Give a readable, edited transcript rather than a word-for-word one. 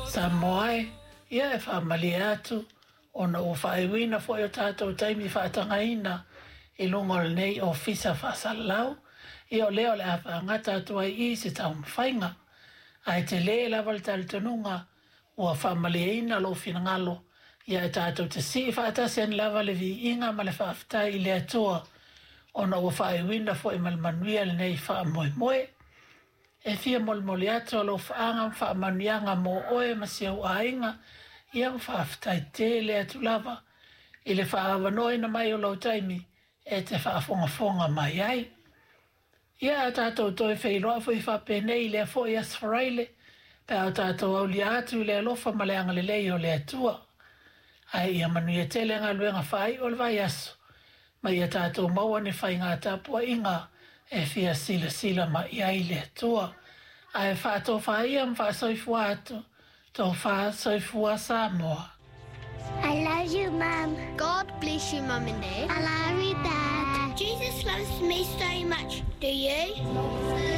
Samoa e, ia e faamalie atu ona ua faaiuina foi o tatou taimi faatagaina i luga o lenei Ofisa Faasalalau, ia o lea o le a faagata atu ai i i se taumafaiga. Ae tele lava le talitonuga ua faamalieina lou finagalo, ia e tatou te sii faatasi ane lava le viiga ma le faafetai i le Atua ona ua faaiuina foi ma le manuia lenei faamoemoe. E fia molimoli atu alofaaga ma faamanuiaga mo oe ma si ou aiga, ia ma faafetai tele atu lava i le faaavanoaina mai o lou taimi e te faafogafoga mai ai. Ia a tatou toe feiloai foi faapenei i lea foi Aso Faraile, pe a o tatou aulia atu i le alofa ma le agalelei o le Atua. Ae ia manuia tele galuega faaiu o le vaiaso, ma ia tatou maua ni faiga tapuaiga e fia silasila mai i ai le Atua. Ae faatofa ia ma faasoifua atu, tofa soifua Samoa. I love you, Mum. God bless you, Mum and Dad. I love you, Dad. Jesus loves me so much. Do you?